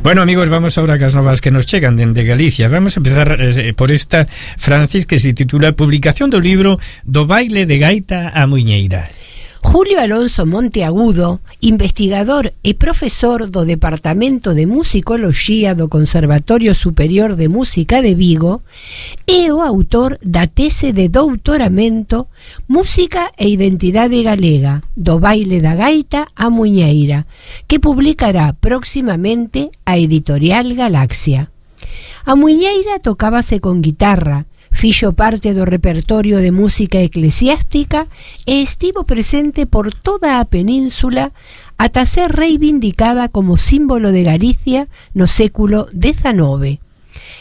Bueno, amigos, vamos ahora a las novas que nos chegan de Galicia. Vamos a empezar por esta, Francis, que se titula Publicación do libro Do baile de gaita a muiñeira. Julio Alonso Monteagudo, investigador e profesor do Departamento de Musicoloxía do Conservatorio Superior de Música de Vigo, é o autor da tese de doutoramento Música e Identidade Galega, do baile da gaita a muiñeira, que publicará próximamente a editorial Galaxia. A muiñeira tocábase con guitarra, fixo parte do repertorio de música eclesiástica e estivo presente por toda a península ata ser reivindicada como símbolo de Galicia no século XIX.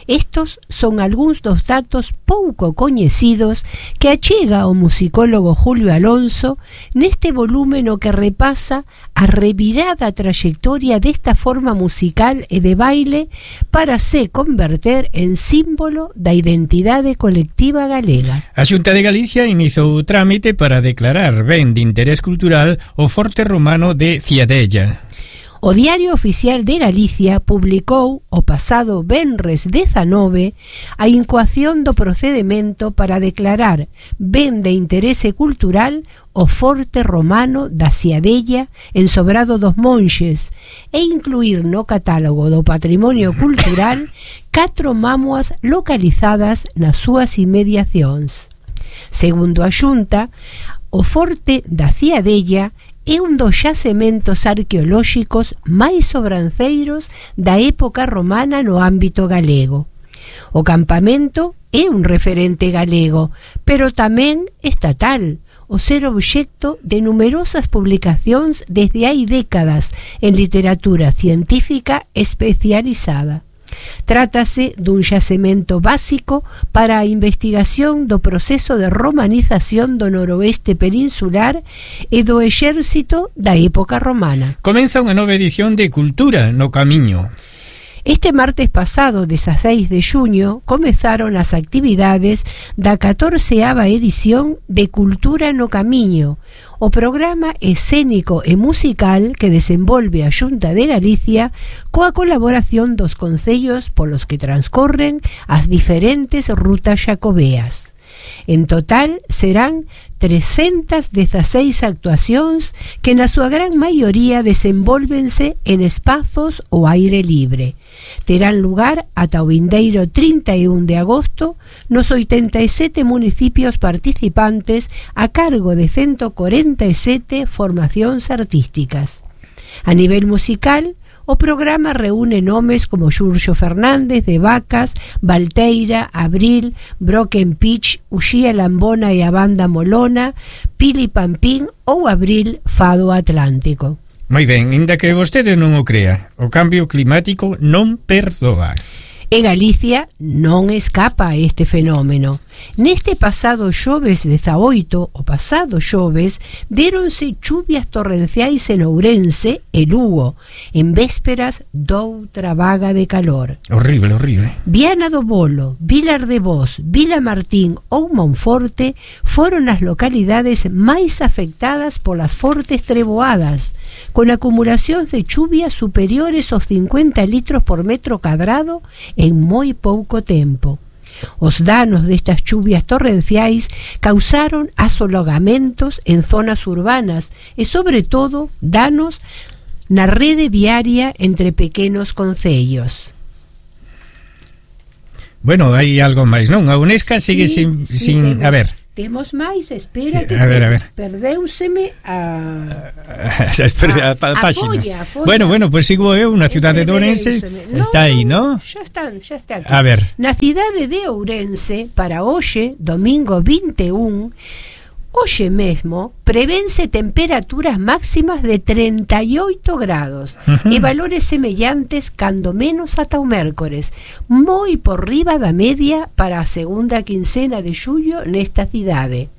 Estos son algúns dos datos pouco coñecidos que achega o musicólogo Julio Alonso neste volume no que repasa a revirada trayectoria desta forma musical e de baile para se converter en símbolo da identidade colectiva galega. A Xunta de Galicia iniciou o trámite para declarar ben de interés cultural o Forte Romano de Ciadella. O Diario Oficial de Galicia publicou o pasado venres 19 a incoación do procedemento para declarar ben de interese cultural o Forte Romano da Ciadella en Sobrado dos Monxes e incluir no catálogo do Patrimonio Cultural 4 mámoas localizadas nas súas inmediacións. Segundo a Xunta, o Forte da Ciadella é un dos xacementos arqueolóxicos máis sobranceiros da época romana no ámbito galego. O campamento é un referente galego, pero tamén estatal, o ser obxecto de numerosas publicacións desde hai décadas en literatura científica especializada. Trátase dun xacemento básico para a investigación do proceso de romanización do noroeste peninsular e do exército da época romana. Comeza unha nova edición de Cultura no Camiño. Este martes pasado, 16 de xuño, comezaron as actividades da 14ª edición de Cultura no Camiño, o programa escénico e musical que desenvolve a Xunta de Galicia coa colaboración dos concellos polos que transcorren as diferentes rutas xacobeas. En total serán 316 actuacións que na súa gran maioría desenvólvense en espazos ao aire libre. Terán lugar ata o vindeiro 31 de agosto nos 87 municipios participantes a cargo de 147 formacións artísticas. A nivel musical, o programa reúne nomes como Xurxo Fernández de Vacas, Valteira, Abril, Broken Pitch, Uxía Lambona e a Banda Molona, Pili Pampín ou Abril Fado Atlántico. Moi ben, inda que vostedes non o crea, o cambio climático non perdoa. En Galicia non escapa este fenómeno. Neste pasado xoves 18, o pasado xoves, déronse chuvias torrenciais en Ourense e Lugo, en vésperas doutra vaga de calor. Horrible, horrible. Viana do Bolo, Vilar de Boz, Vila Martín ou Monforte foron as localidades máis afectadas polas fortes treboadas, con acumulacións de chuvias superiores aos 50 litros por metro cadrado en moi pouco tempo. Os danos destas chuvias torrenciais causaron asolagamentos en zonas urbanas e, sobre todo, danos na rede viaria entre pequenos concellos. Bueno, hai algo máis, non? A Unesca sigue sin a ver. Temos máis, espera, sí, que a ver. Perdeuseme a página. Bueno, pues sigo eu na cidade de Ourense. Está aí, ¿no? Xa está aquí. A ver. Na cidade de Ourense, para hoxe, domingo 21, hoxe mesmo, prevense temperaturas máximas de 38 grados e valores semellantes cando menos ata o mércores, moi por riba da media para a segunda quincena de xullo nesta cidade.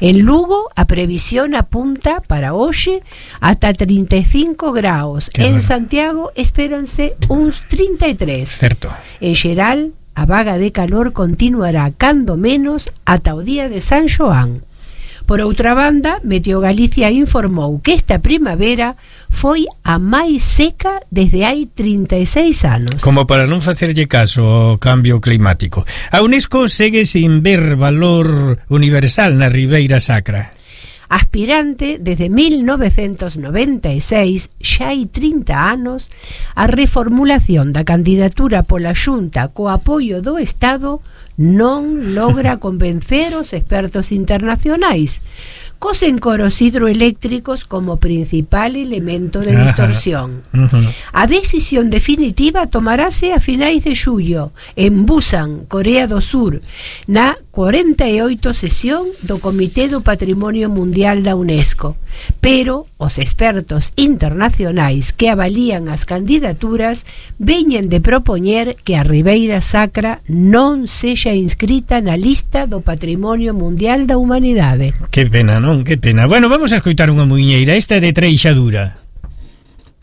En Lugo, a previsión apunta para hoxe ata 35 graus. En Santiago espéranse uns 33. Certo. En xeral, a vaga de calor continuará cando menos ata o día de San Xoán. Por outra banda, Meteo Galicia informou que esta primavera foi a máis seca desde hai 36 anos. Como para non facerlle caso ao cambio climático. A UNESCO segue sin ver valor universal na Ribeira Sacra. Aspirante desde 1996, xa hai 30 anos, a reformulación da candidatura pola Xunta co apoio do Estado non logra convencer os expertos internacionais, cos encoros hidroeléctricos como principal elemento de distorsión. A decisión definitiva tomarase a finais de xullo en Busan, Corea do Sur, na 48 sesión do Comité do Patrimonio Mundial da UNESCO, pero os expertos internacionais que avalían as candidaturas veñen de propoñer que a Ribeira Sacra non sexa inscrita na lista do Patrimonio Mundial da Humanidade. Que pena, non? Que pena. Bueno, vamos a escoitar unha muiñeira, esta é de Treixadura.